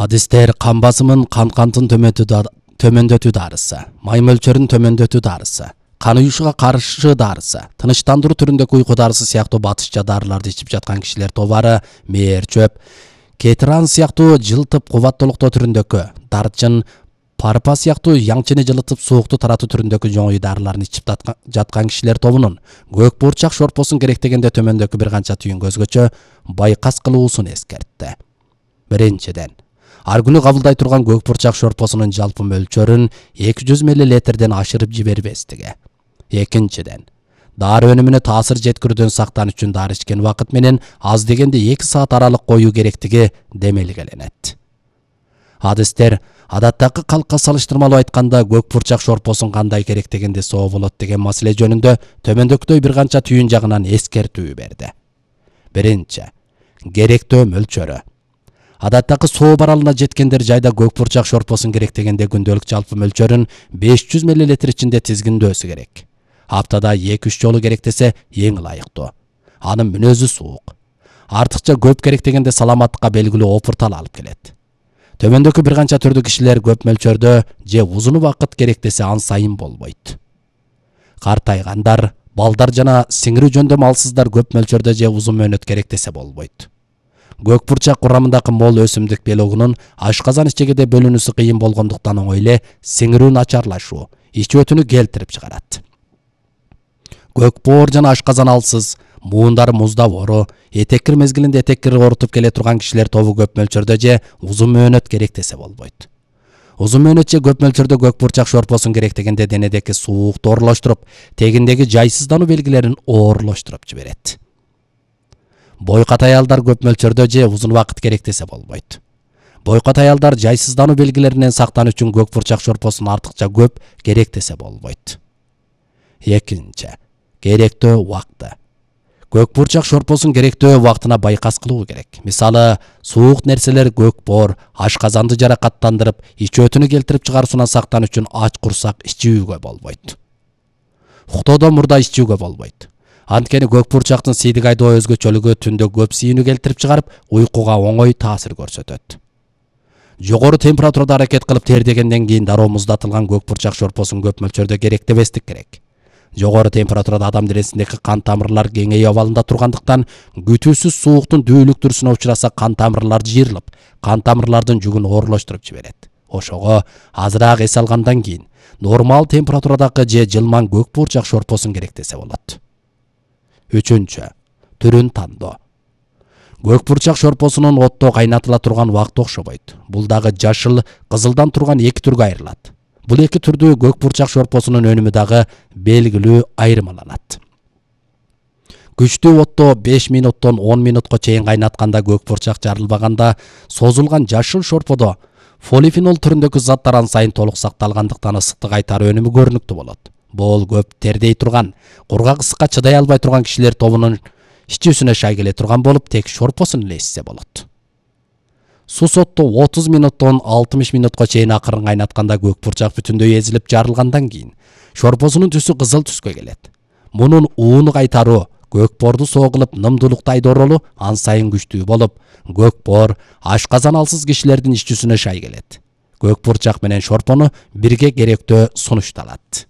Адистер кан басымын, кантын төмөндөтүү дарысы, май мөлчөрүн төмөндөтүү дарысы, кан уюшуга каршы дарысы, тынычтандыруу түрүндөгү уйку дарысы сыяктуу батышча дарыларды ичип жаткан кишилер тобары мээр чөп, кетиран сыяктуу жылтып кубаттуулуктоо түрүндөгү, дарчын, парпа сыяктуу яңчыны жылытып суукту таратуу түрүндөгү жоңой дарыларын ичип жаткан кишилер тобунун көк бурчак шорпосун керектегенде төмөндөгү бир канча түйүнгө өзгөчө байкас кылуусун эскертти. Биринчиден, ар күнү кабылдай турган көк бурчак шорпосунун жалпы мөлчөрүн 200 мл ашырып жибербестиги. Экинчиден, дары өнүмүнө таасир жеткирүүдөн сактан үчүн дары ичкен убакыт менен аз дегенде 2 саат аралык коюу керектиги демелгеленет. Адистер адаттагы калкка салыштырмалуу айтканда көк бурчак шорпосун кандай керектегенде соо болот деген маселе жөнүндө төмөндөгүдөй бир канча түйүн жагынан эскертүү берди. Биринчи, керектөө мөлчөрү. Адаттагы соо баралына жеткендер жайда көк бурчак шорпосун керектегенде күндөлүк жалпы мөлчөрүн 500 мл ичинде тизгиндөөсү керек. Аптада 2-3 жолу керектесе эң ылайыктуу. Анын мүнөзү суук. Артыкча көп керектегенде саламаттыкка белгилүү опуртал алып келет. Төмөндөгү бир канча түрдүү кишилер көп мөлчөрдө же узун убакыт керектесе ан сайын болбойт. Картайгандар, балдар жана сиңирүү жөндөм малсыздар көп мөлчөрдө же узун мөөнөт керектесе болбойт. Көк бурчак курамындагы мол өсүмдүк белогунун ашказан ичегиде бөлүнүүсү кыйын болгондуктан оңой эле сиңирүү начарлашуу, ич өтүнү келтирип чыгарат. Көк боор жана ашказан алсыз, муундары муздап ору, этеккир мезгилинде этеккир орутуп келе турган кишилер тобу көп мөлчөрдө же узун мөөнөт керектесе болбойт. Узун мөөнөт же көп мөлчөрдө көк бурчак шорпосун керектегенде денедеги суукту оорлоштуруп, тегиндеги жайсыздануу белгилерин оорлоштуруп жиберет. Бойкат аялдар көп мөлчөрдө же узун убакыт керектесе болбойт. Бойкат аялдар жайсыздануу белгилеринен сактануу үчүн көк бурчак шорпосун артыкча көп керектесе болбойт. Экинчи, керектөө убакты. Көк бурчак шорпосун керектөө убактына байкас кылуу керек. Мисалы, суук нерселер көк боор, ашказанды жаракаттандырып, ич өтүнү келтирип чыгаруусунан сактануу үчүн ач курсак ичүүгө болбойт. Уктоодон мурда ичүүгө болбойт. Анткени көк бурчактын сийдик айдоо өзгөчөлүгү түндө көп сийүүнү келтирип чыгарып, уйкуга оңой таасир көрсөтөт. Жогору температурада аракет кылып тердегенден кийин дароо муздатылган көк бурчак шорпосун көп мөлчөрдө керектебестик керек. Жогору температурада адам денесиндеги кан тамырлар кеңейүү абалында тургандыктан күтүүсүз сууктун дүүлүктүрүүсүнө учураса кан тамырлар жыйрылып, кан тамырлардын жүгүн оорлоштуруп жиберет. Ошого азыраак эс алгандан кийин нормал температурадагы же жылман көк бурчак шорпосун керектесе болот. Үчүнчү, түрүн тандоо. Көк бурчак шорпосунун отто кайнатыла турган убакыты окшобойт. Бул дагы жашыл, кызылдан турган 2 түргө айрылат. Бул 2 түрдүү көк бурчак шорпосунун өнүмү дагы белгилүү айырмаланат. Күчтүү отто 5 минуттон 10 минутка чейин кайнатканда көк бурчак жарылбаганда, созулган жашыл шорподо полифенол түрүндөгү заттар ан сайын толук сакталгандыктан ысыктык айтар өнүмү көрүнүктүү болот. Бул көп тердей турган, кургак ысыкка чыдай албай турган кишилер тобунун ичүүсүнө шай келе турган болуп, тек шорпосун эле ичсе болот. Сусотто 30 минуттон 60 минутка чейин акырын кайнатканда көк бурчак бүтүндөй эзилип жарылгандан кийин шорпосунун түсү кызыл түскө келет. Мунун ууну кайтаруу көк боорду соо кылып нымдуулукту айдоо ролу ан сайын күчтүү болуп, көк боор, ашказан алсыз кишилердин ичүүсүнө шай келет. Көк бурчак менен шорпону бирге керектөө сунушталат.